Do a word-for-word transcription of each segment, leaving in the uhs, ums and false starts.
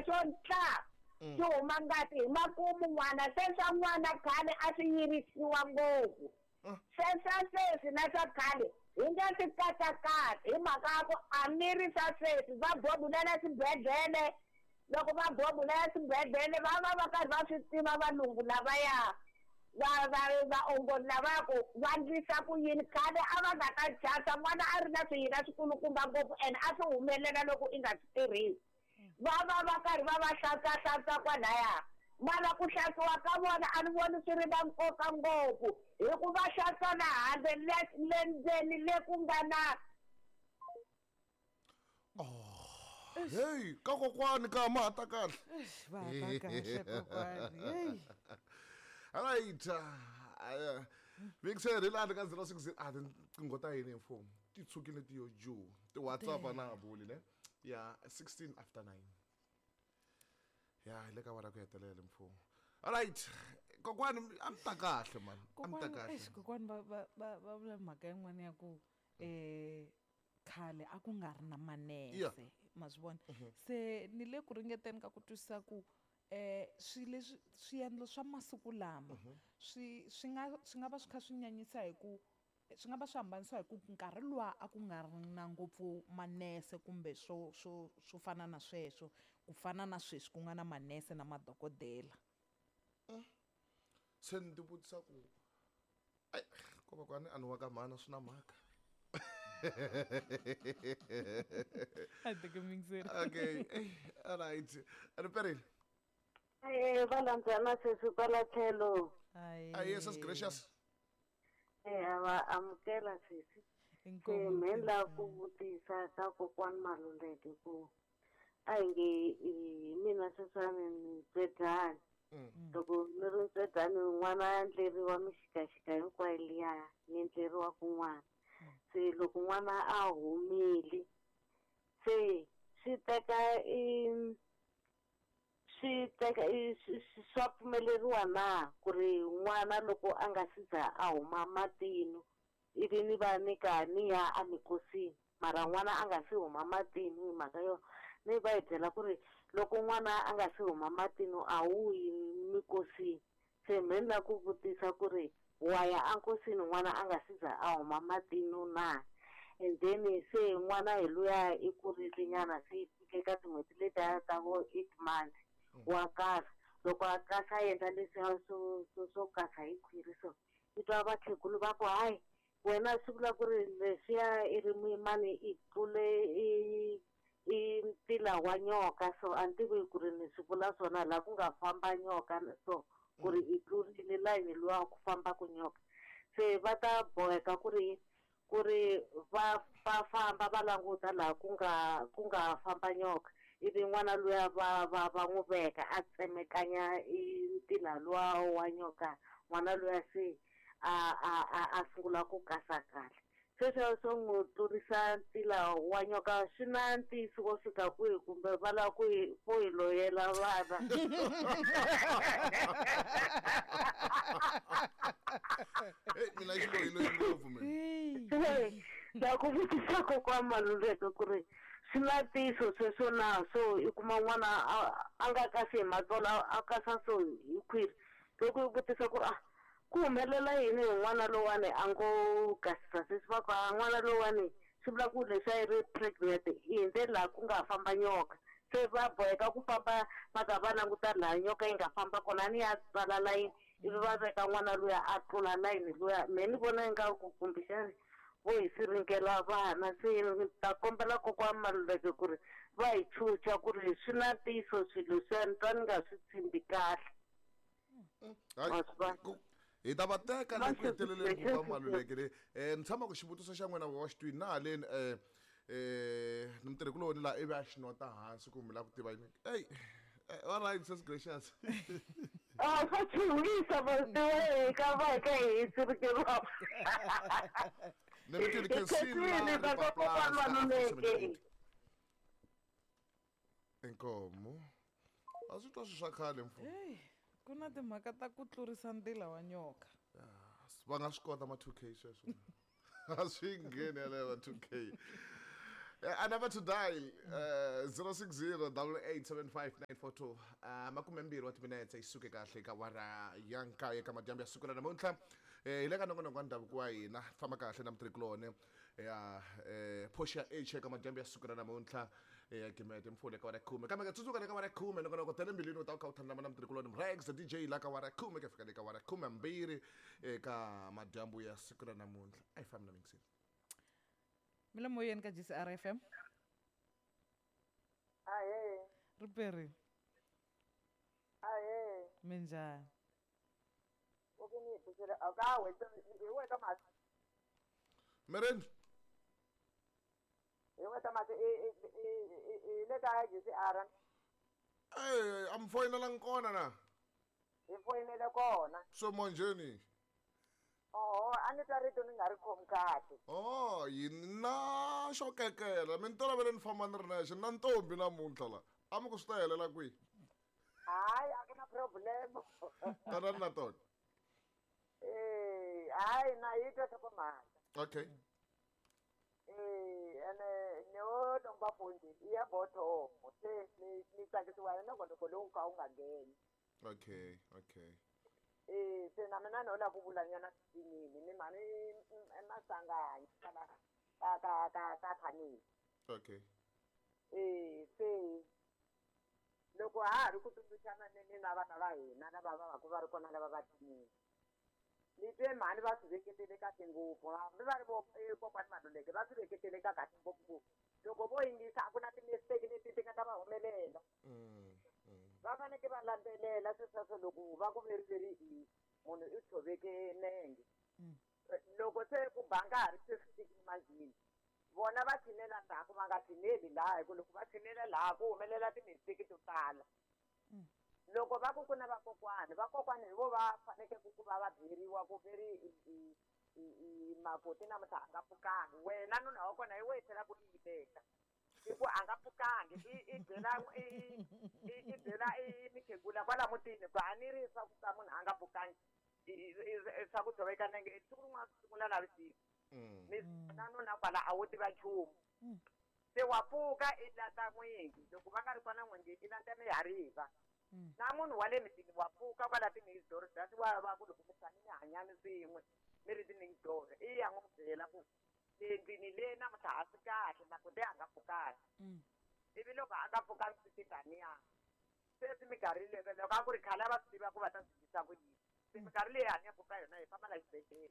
xirhundza xo ntla xi huma ngati hi makumu n'wana se swa n'wana khale a swi yirisiwa ngopfu se swa sweswi na swa khale hi nga swi katsakatsa hi mhaka ya ku a mi ri swa sweswi va bobulela swibedhlele loko va bobulela swibedhlele va va va karhi va swi tiva valungu lavaya va va vaongori lava ku va ndlisa ku yini khale a va nga ta chasa n'wana a ri na swiyila swikulukumba ngopfu ene a swi humelela loko i nga swi tirhisi va va va karhi va va hlantswahlantswa kwalaya mara ku hlantswiwa ka vona a ni voni swi ri na nkoka ngopfu hi ku va hlantswa na handle le le ndzeni le ku nga na hey ka kokwani ka ma ta kahle va ta kahle kokwani hey alright uh, Vixer la ka zero six a tinqingho ta yini mfumo ti tshukile ti yo ju ti WhatsApp na buli ne ya sixteen after nine ya le ka wara ku hetelela mfumo alright kokwani am ta kahle man am ta kahle eish kokwani va va va vula mhaka yin'wana ya ku eh khale a ku nga ri na manese ma swi vona se ni le ku ringeteni ka ku twisisa ku eh swi leswi swiendlo swa masiku lama swi swi nga swi nga va swi kha swi nyanyisa hi ku swi nga va swi hambanisiwa hi ku nkarhi luwa a ku nga ri na ngopfu manese kumbe swo swo swo fana na sweswo ku fana na sweswi ku nga na manese na madokodela se ni tivutisa ku ai ko va kwani a ni wa ka mhana swi na mhaka I think I'm mixing. Okay, all right. Riperile. Eh valandzana sesi kwala tlhelo. Ayi yes gracious. Eh va amukela sesi. Inkomu. Me la ku vutisa ka kokwani Maluleke ku a hi nge mina sesani ni tswedani. Loko ni ri ntswedani n'wana a endleriwa mixikaxika hinkwayo liya ni endleriwa kun'wana. Se loko n'wana a humile se swi teka i swi teka swa pfumeleriwa na ku ri n'wana loko a nga si za a huma matino ivi ni va ni ka ni ya amikosini mara n'wana a nga si huma matino hi mhaka yo ni va hi byela ku ri loko n'wana a nga si huma matino a wu yi mikosini se me ni la ku vutisa ku ri wa ya ankosini n'wana a nga si za a huma matino na and then se n'wana hi luya i kurile nyana se i fike ka tin'hweti letiya ta vo eight months wa kasa loko a kasa a endla leswiya swo swo swo kasa hi khwiri so i twa vakhegulu va ku hayi wena swi vula ku ri leswiya i ri muyimani i tlule i i ntila wa nyoka so a ni tivi ku ri ni swi vula swona laha ku nga famba nyoka so ku ri i tlurile layini luwa ku famba ku nyoka se va ta boheka ku ri ku ri va va famba va languta laha ku nga ku nga famba nyoka ivi n'wana luya va va va n'wi veka a tsemekanya i ntila luwa wa nyoka n'wana luya se a a a a sungula ku kasa kahle sweswo swo n'wi tlurisa ntila wa nyoka swi na ntiyiso wo fika kwihi kumbe va lava ku hi ku hi loyela vana hey mina xi loyi loyi ngopfu mina la ku vutisa kokwana Maluleke ku ri swi na ntiyiso sweswo na so i kuma n'wana a nga kasi hi matsolo a kasa so hi khwiri loko i vutisa ku ri ah ku humelela yini hi n'wana lowani a ngo kasisa sesi va ku n'wana lowani swi vula ku leswi a yi ri pregnant i hindze laha ku nga famba nyoka se va boheka ku famba va ka va languta laha nyoka yi nga famba kona ni ya tsala layini ivi va veka n'wana luya a tlula layini luya me ni vona ingaku kumbexani vo hi siringela vana se ni ta kombela kokwana Maluleke ku ri va hi chucha ku ri swi na ntiyiso swilo leswiya ni twa ni nga swi tshembi kahle hi ta va teka le ku heteleleni ku va Maluleke le um ni tshama ku xivutiso xa n'wina wa xi twini na haleni um um ni mutirhikuloni laha ivi a xi nota hansi ku mi lava ku tiva yini ey all right sis gracious ah swa chuhisa va tiva ka va ka hi sirikeriwa ni mi twini khensini la kokwana Maluleke inkomo a swi twa swi swa khale mfumo ku na timhaka ta ku tlurisa ntila wa nyoka va nga swi kota ma two K sweswo a swi ngheni yaleyo ma two K Uh, number to dial uh, zero six zero double eight seven five nine four two. Uh, makume mbirhi wa timinetse yi suke kahle ka wara ya nkaye ka madyambu ya siku ra namuntlha. Eh, hi le ka nongonoko wa ndhavuko wa hina, famba kahle na mutirhikuloni ya eh, Portia H eka madyambu ya siku ra namuntlha ya gimete mfule ka wara khume. Kambe ka tsundzuka le ka wara khume nongonoko tele mbilwini u ta kha u thandana na mutirhikuloni Rex D J la ka wara khume ka fika le ka wara khume mbirhi eka madyambu ya siku ra namuntlha. A hi fambi na mingiseni. Mi le moyeni ka G C R F M. Ahee. Riperi. Ahee. Minjhani? U ku ni tisela a ka we hi we ka masi. Mireni. Hi we ka masi i i i le ka G C R. Eh, am foyinela kona na. Hi foyinele kona. So manjeni. Oh, a ni twa rito ni nga ri khomi kahle. Oh, yina xo kekela. Mi ni tolovele ni famba ni ri nexe na ntombi namuntlha la. A mi ku swi ta helela kwihi? Hayi, a ku na problem. Tanani na tona. Eh, hayi na yi twa nhlokomhaka. Okay. Eh, ene ni wo lomba foni i ya bothomo se ni ni tsakisiwa hi nongonoko lowu ka wu nga ngheni. Okay, okay. Eh, se na mina no la ku vula nyana swinene ni mhani eMasanganyi ka ka ka ka ka Khanini. Okay. Eh, se loko ha ha ri ku tsundzuxana ni ni na vana va hina lava va va ku va ri kona lava va tinini. Ni twe mhani va swi veketele kahle ngopfu hambi va ri vo kokwani Maluleke va swi veketele ka kahle ngopfu ku loko vo yingisa a ku na ti-mistake leti ti nga ta va humelela. Va fanekele va landzelela sweswo loko va ku veri i munhu i tshoveke nenge. Loko se ku ba nkarhi se swi fikile manjheni vona va tshinela ndzhaku va nga tshineli laha hi ku loko va tshinela laha ku humelela ti-mistake to tala. Loko va ku ku na vakokwani vakokwani hi vo va fanekele ku va va byeriwa ku veri i i makoti namuntlha a nga pfukangi wena nuna wa kona hi wehe tlhela ku yimeka. I ku a nga pfukangi i i byela i i byela i mikhegula kwala mutini ku a ni ri swa ku ka munhu a nga pfukangi swa ku tshoveka nenge siku rin'wana swi sungula navusiku mi na nuna kwala a wo tiva nchumu se wa pfuka i lata n'wingi loko va nga ri kona n'wingi i lata mihariva na munhu wa le mitini wa pfuka kwala ti-next door that's why va ku loko mi tshame mi hanyani swin'we mi ri ti-next door i ya n'wi byela ku le ndlwini le namuntlha a swi kahle makoti a nga pfukangi ivi loko a nga pfukangi swi ti taniya sweswi minkarhi leyi loko a ku ri khale a va swi tiva ku va ta swi dyisa ku yini se minkarhi leyi hanyaka ka yona hi famba la xibedhlele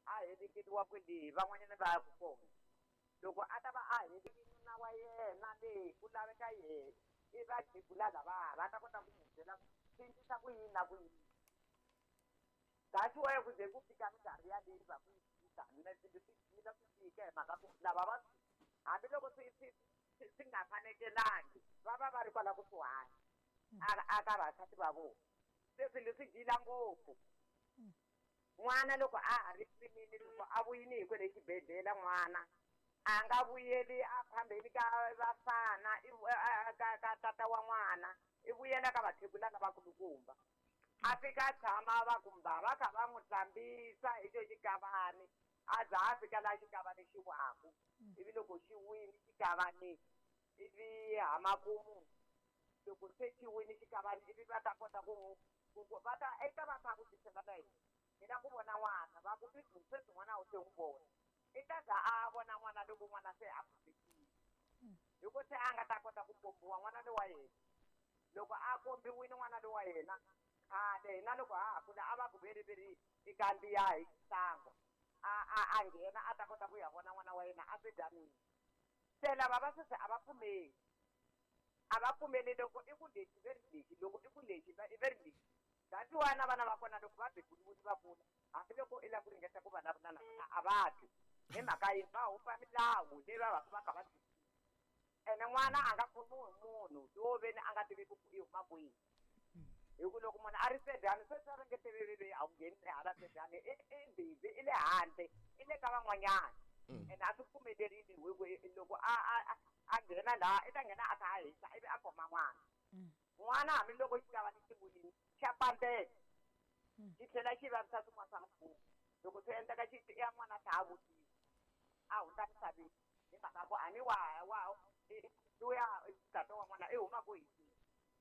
a heleketiwa kwele van'wanyana va ya ku kona loko a ta va a helekile nuna wa yena le ku laveka yena i va khegula lavaya va ta kota ku n'wi byela ku swi endlisa ku yini na ku yini that's why ku ze ku fika minkarhi yaleyi va ku yi swilo swi jila swi fika hi mhaka ku lava va hambiloko swi swi swi nga fanekelangi va va va ri kwala kusuhani a ka vasati va vona se swilo swi jila ngopfu. N'wana loko a ha ri rimini loko a vuyini hi kwele xibedhlele n'wana a nga vuyeli a phambeni ka vafana ka ka tata wa n'wana i vuyela ka vakhegula lavakulukumba a fika a tshama va kumba va kha va n'wi hlambisa hi xo xikavani a za a fika laha xikavani xi waku ivi loko xi wini xikavani ivi hamakumu loko se xi wini xikavani ivi va ta kota ku va ta eka va kha vutisela na yena hi la ku vona n'wana va ku i sweswi n'wana wu se n'wi vona i ta za a vona n'wana loko n'wana se a pfulekile hi ku se a nga ta kota ku kombiwa n'wana lowa yena loko a kombiwile n'wana lowa yena khale hina loko ha ha kula a va ku veriveri i kandziya hi xisango a a a nghena a ta kota ku ya vona n'wana wa yena a swi dyanile se lava va sweswi a va pfumeli a va pfumeli loko i ku lexi ve ri lexi loko i ku lexi i ve ri lexi that's why na vana va kona loko va beburiwile va kula hambiloko i lava ku ringeta ku vulavula na vona a va twi hi mhaka yini va hupa milawu leyi va va va kha va ene n'wana a nga khomiwi hi munhu lowo veni a nga tiviki ku i huma kwihi hi ku loko munhu a ri sedyani sweswi a ringeteleli a wu ngheni hala sedyani i i busy i le handle i le ka van'wanyana ene a swi pfumelerile hi ku loko a a a nghena laha i ta nghena a kha a hisa ivi a khoma n'wana n'wana hambiloko xi ta va ni xivuyini xa pambela xi tlhela xi vavisa swin'wana swa mukhuva loko swi endleka xi ya n'wana a tlha a vutisa a hundza misaveni Hi mhaka ku a ni wa wa luya tata wa n'wana i huma kwihi.